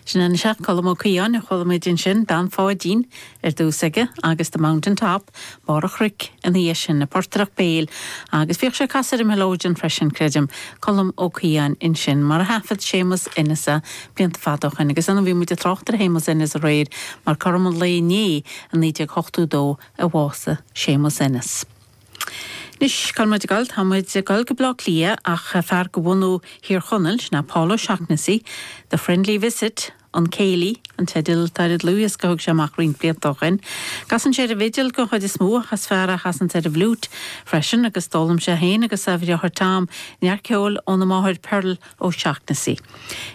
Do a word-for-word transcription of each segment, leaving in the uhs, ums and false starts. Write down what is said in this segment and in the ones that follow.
Sin an seach Colm Ó Caodháin a chuala muid ansin Bean Pháidín ar dtús aige agus The Mountain Top Barr an Chnoic ina dhiaidh sin an portaireacht béil agus bhíodh sé ag casadh ar an mileoidean freisin creidim Colm Ó Caodháin ansin mar a thaifead Séamus Ennis é blianta fada ó shin agus ann bhí muid ag trácht ar Shéamus Ennis aréir mar cothrom an lae inné i naoi déag ochtó dó a bhásaigh Séamus Ennis. Anois cá bhfuil muid ag dul tá muid ag dul go Baile Átha Cliath ach fear de bhunadh Thír Chonaill, sin é Paul O'Shaughnessy, The Friendly Visit, An Céilí, an teideal atá ar an dlúthdhiosca a thug sé amach roinnt blianta ó shin. Casann sé ar an bhfidil den chuid is mó ach is fear é a chasann ar an bhfliúit freisin agus d'fhoghlaim sé féin agus a dheartháir Tom neart ceoil óna máthair Pearl O'Shaughnessy.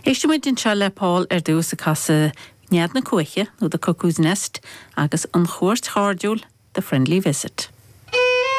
Éistfidh muid anseo le Paul ar dtús ag casadh Nead na Cuaiche nó The Cuckoo's Nest agus an chuairt chairdiúil The Friendly Visit.